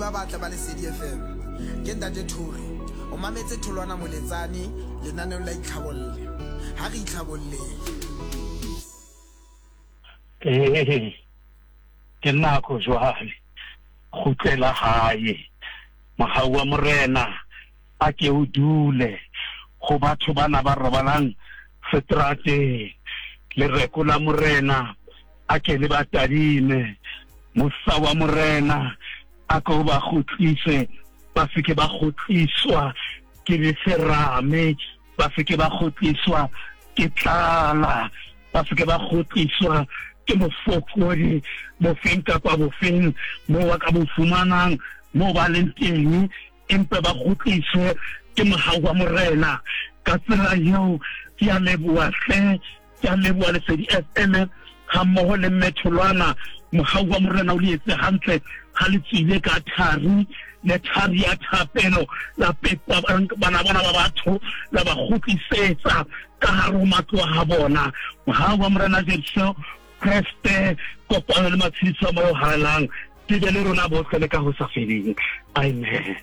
ba batle ba Lesedi FM. Ke Ntate Thori. O mametse Tholwana Moletsane lenaneong la Itlhabolle. Ha re itlhabolleng. Ee, ke nako jwale, kgutlela hae. Mohau wa Morena a ke o dule go batho bana ba robalang seterateng. Lereko la Morena a ke le ba tadime. Mosa wa Morena a ke o ba kgutlise, ba se ke ba kgutliswa ke leserame, ba se ke ba kgutliswa ke tlala, ba se ke ba kgutliswa ke bofokodi bofeng kapa bofeng moo ba ka bo fumanang moo ba leng teng, empa ba kgutliswe ke mohau wa Morena. Ka tsela eo ke a leboha hle, ke a leboha Lesedi FM ga mmogo le Mme Tholwana. Mohau wa Morena o le etse hantle ga le tswile ka thari le thari ya thapelo, la pepa bana bona ba batho, la ba kgutlisetsa ka gare ho matlo a bona. Mohau wa Morena Jesu Kreste, kopano le matshediso a Moya o Halalelang di be le rona bohle le ka ho sa feleng. Amen.